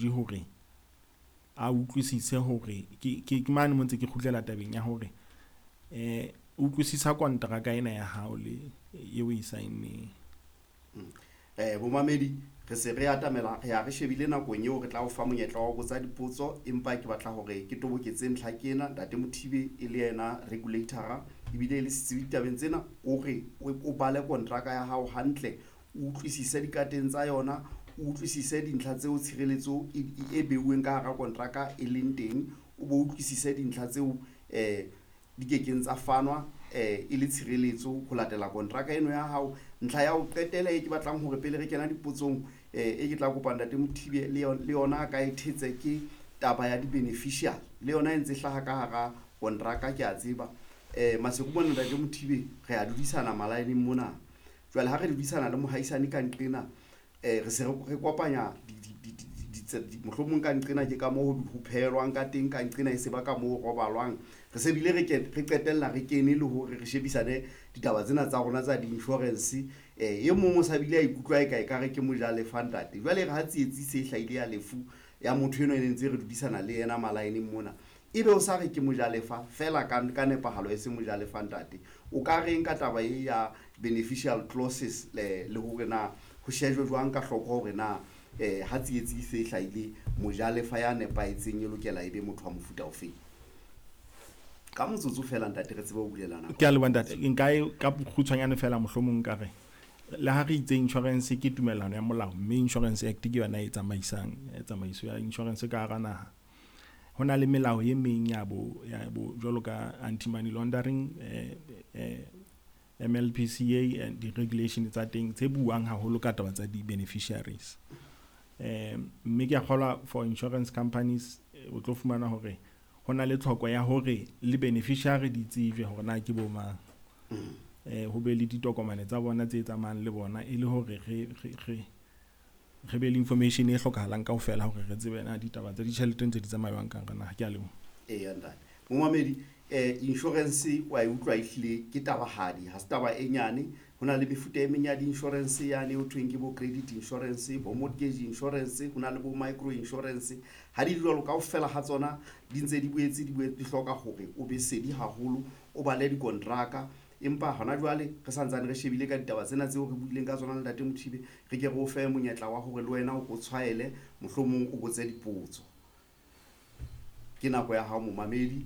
technology hore a utlwisise hore ke mane mo ntse ke kgutlela tabeng ya hore utlwisisa kontraka ena ya hao le eo e sign-neng. Bomamedi, re se re atamela, re ya re shebile nakong eo re tla o fa monyetla wa ho botsa dipotso, empa ke batla hore ke toboketse ntlha ke ena. Ntate Mothibe e le yena regulator ebile e le setsebi ditabeng tsena, o re o bale kontraka ya hao hantle, o utlwisise dikateng tsa yona, o utlwisise dintlha tseo tshireletso e beuweng ka hara kontraka e leng teng, o bo utlwisise dintlha tseo di kekeng tsa fanwa e le tshireletso ho latela kontraka eno ya hao. Ntlha ya ho qetela e ke batlang hore pele re kena dipotsong, e ke tla kopa Ntate Mothibe le yona a ka e thetse, ke taba ya di-beneficial, le yona e ntse hlaha ka hara kontraka, ke a tseba. Maseru mona Ntate Mothibe re a dudisana malaeneng mona. Jwale ha re dudisana le mohaisane ka nqena, re se re kopanya mohlomong ka nqena ke ka moo ho phehelwang ka teng, ka nqena e se ba ka moo ho robalwang. Re se bile re qetella re kene le hore re shebisane ditaba tsena tsa rona tsa di-insurance. E mong o sa bile a ikutlwa e ka ekare ke mojalefa ntate. Jwale re ha tsietsi se hlahile ya lefu ya motho enwa e ne ntse re dudisana le yena malaeneng mona, ebe o sa re ke mojalefa fela ka nepahalo e se mojalefa ntate. O ka reng ka taba e ya beneficial clauses le hore na ho shejwe jwang ka hloko hore na ha tsietsi se hlahile mojalefa ya nepahetseng e lokela e be motho wa mofuta ofeng? Ka motsotso fela ntate re tsebe ho bulela nako. Ke a leboha ntate. Nka e ka bokgutshwanyane fela mohlomong nka re le ha re itse insurance ke tumellano ya molao, mme Insurance Act ke yona e tsamaisang tsamaiso ya insurance ka hara naha. Ho na le melao e meng ya bo jwalo ka anti money laundering, MLPCA and di-regulation tsa teng tse buang haholo ka taba tsa di-beneficiaries. Mme ke a kgolwa for insurance companies o tlo fumana hore ho na le tlhoko ya hore le beneficiary di tsejwe hore na ke bo mang. Ho be le ditokomane tsa bona tse tsamayang le bona e le hore re be le information e hlokahalang kaofela hore re tsebe na ditaba tsa ditjhelete ntse di tsamaya jwang ka hara naha. Ke a leboha. Eya ntate. Momamedi, insurance wa e utlwa ehlile ke tabahadi, ha se taba e nyane. Ho na le mefuta e meng ya di-insurance yane ho thweng ke bo credit insurance, bo mortgage insurance, ho na le bo micro insurance. Ha di le jwalo kaofela ha tsona di ntse di boetse di hloka hore o be sedi haholo, o bale dikontraka. Empa hona jwale re santsane re shebile ka ditaba tsena tseo re buileng ka tsona le Ntate Mothibe, re ke re o fe monyetla wa hore le wena o tshwaele, mohlomong o botse dipotso. Ke nako ya hao momamedi,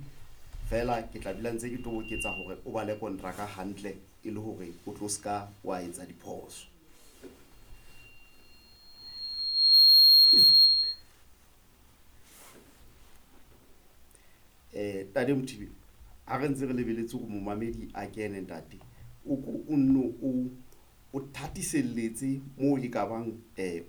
fela ke tla dula ntse ke toboketsa hore o bale kontraka hantle e le hore o tlo ska wa etsa diphoso. Ntate Mothibe, ha re ntse re lebeletse hore momamedi a kene ntate, o ko o nno o thatiselletse moo e ka bang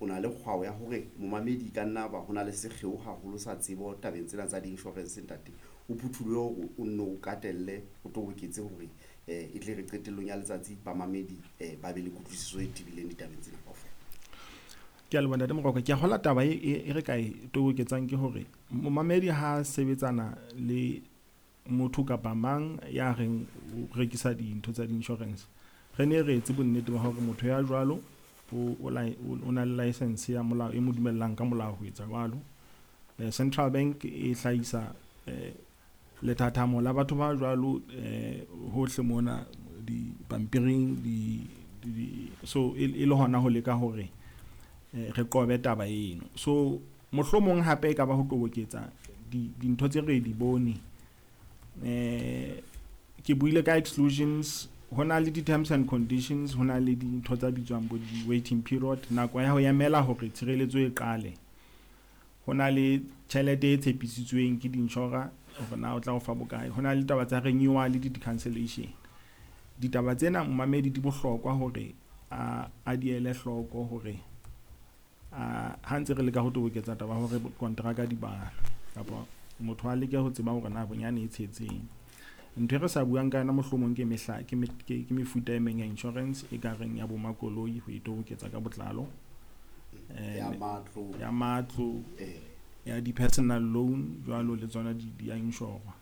o na le kgwao ya hore momamedi ka nna ba ho na le sekgeo haholo sa tsebo tabeng tsena tsa di-insurance ntate. O phuthulohe hore o nno o katelle, o toboketse hore e tle re qetellong ya letsatsi bamamedi ba be le kutlwisiso e tebileng ditabeng tsena kaofela. Ke a leboha Ntate Moroka. Ke a kgolwa taba e re ka e toboketsang ke hore momamedi ha sebetsana le motho kapa mang ya reng o rekisa dintho tsa di-insurance, re ne re etse bonnete ba hore motho ya jwalo o na le license ya molao e mo dumellang ka molao ho etsa jwalo. Central Bank e hlahisa lethathamo la batho ba jwalo hohle mona dipampiring so e le hona ho leka hore re qobe taba eno. So mohlomong hape e ka ba ho toboketsa dintho tse re di bone. Ke buile ka exclusions, ho na le di-terms and conditions, ho na le dintho tsa bitswang bo di-waiting period, nako ya ho emela hore tshireletso e qale. Ho na le tjhelete e tshepisitsweng ke di-insurer hore na o tla o fa bokae. Ho na le taba tsa renewal le di-cancellation. Ditaba tsena momamedi di bohlokwa hore a di ele hloko hore ha ntse re leka ho toboketsa taba hore kontraka di balwe kapa motho a leke ho tseba hore na bonyane e tshetseng. Ntho e re sa buang ka yona mohlomong ke mehla ke mefuta e meng ya insurance e ka reng ya bo makoloi ho e toboketsa ka botlalo, ya matlo, ya di-personal loan jwalo le tsona di a inshorwa.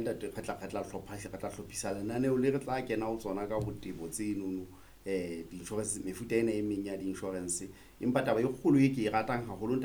Ntate, re tla hlophisa lenaneo le re tla kena ho tsona ka botebo tsenono, di-insurance, mefuta ena e meng ya di-insurance. Empa taba e kgolo e ke e ratang haholo ntate